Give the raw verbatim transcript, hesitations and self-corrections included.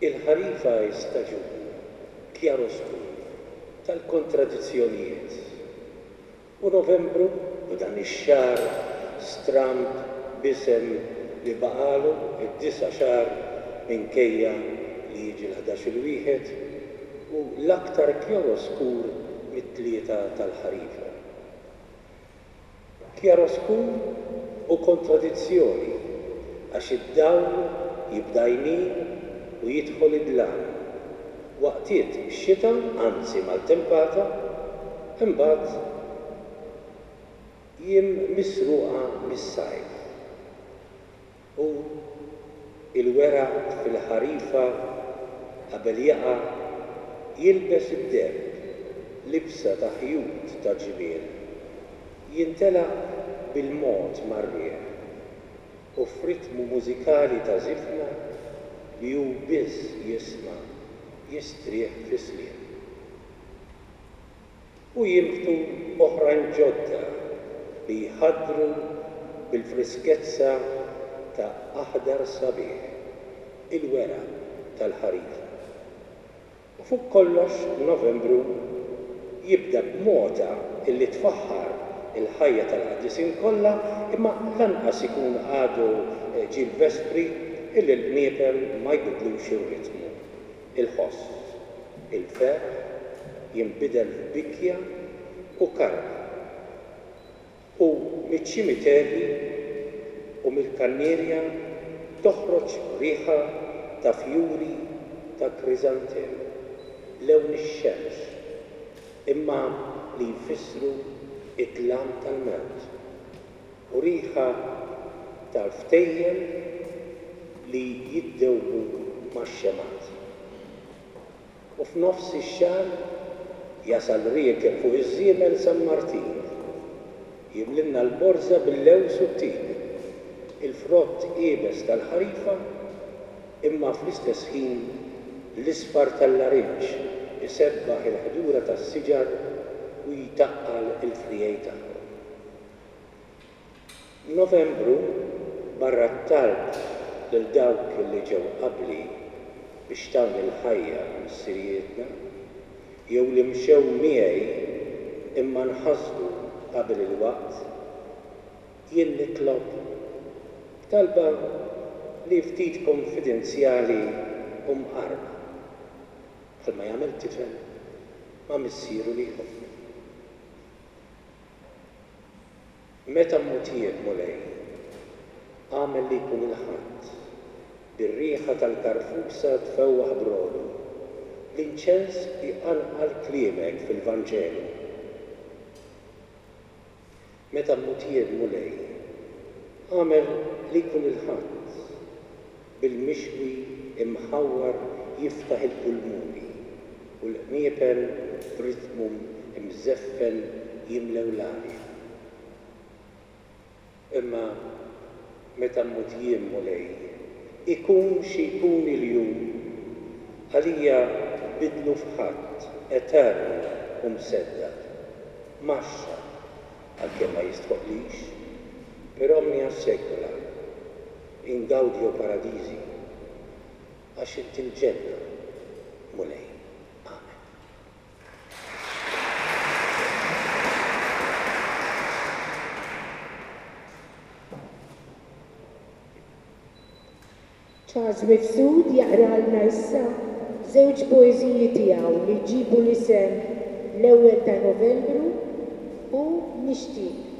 Il-ħarifa hi staġun kjaroskur tal-kontradizzjonijiet. U Novembru, u dan ix-xahar stramb b'isem li baqagħlu d-disa' xahar minkejja li jiġi l-ħdax-il wieħed, hu l-aktar kjaroskur mit-tlieta tal-ħarifa. Kjaroskur u kontradizzjoni għax id-dawl jibda jmil u jidħol id-dlam. Waqtiet xita, anzi maltempata, imbagħad jiem misruqa mis-sajf. U il-weraq fil-ħarifa qabel jaqa' jilbes id-deheb, libsa ta' ħjut ta' ġmiel, jintelaq bil-mod mar-riħ u f'ritmu mużikali ta' żifna li hu biss jisma' jistrieħ fis-sliem. U jinbtu oħrajn ġodda li jħaddru bil-friskezza ta' aħdar sabiħ, il-weraq tal-ħarifa. U fuq kollox Novembru jibda b'mota illi tfaħħar il-ħajja tal-qaddisin kollha, imma lanqas ikun għadu ġie l-vespri illi l-qniepen ma jbidlux ir-ritmu. Il-ħoss, il-ferħ jinbidel f'bikja u karba. U miċ-ċimiterji u mill-kannierja toħroġ riħa ta' fjuri ta' kriżantemu, lewn ix-xemx, imma li jfissru id-dlam tal-mewt, u riħa tal-ftejjem li jiddewbu max-xemgħat. U f'nofs ix-xahar jasal riekeb fuq iż-żiemel San Martin, jimlilna l-borża bil-lewż u t-tin, il-frott iebes tal-ħarifa, imma fl-istess ħin l-isfar tal-larinġ isebbaħ il-ħdura tas-siġar u jtaqqal il-frijej tagħhom. Novembru, barra t-talb lil dawk li ġew qabli biex tawni l-ħajja missirijietna, jew li mxew miegħi imma nħasdu qabel il-waqt, jien nitlob talba li ftit konfidenzjali u mqarba, bħalma jagħmel tifel ma' missieru li jħobbu. Meta mmut jien, Mulej, agħmel li jkun il-Ħadd, bir-riħa tal-karfusa tfewwaħ brodu, l-inċens iqanqal kliemek fil-Vanġelu. Meta mmut jien, Mulej, agħmel li jkun il-Ħadd, bil-mixwi imħawwar jiftaħ il-pulmuni u l-qniepen b'ritmu mżeffen jimlew l-arja. Imma meta mmut jien, Mulej, ikun xi jkun il-jum, għalija bidlu f'Ħadd etern u mseddaq, maxxa, għalkemm ma jistħoqlix, per omnia saecula, in gaudio paradisi, għax inti l-ġenna, Mulej. Amen. Charles Mifsud jaqralna issa żewġ poeżiji tiegħu li jġibu l-isem l-ewwel ta' Novembru u Nixtieq.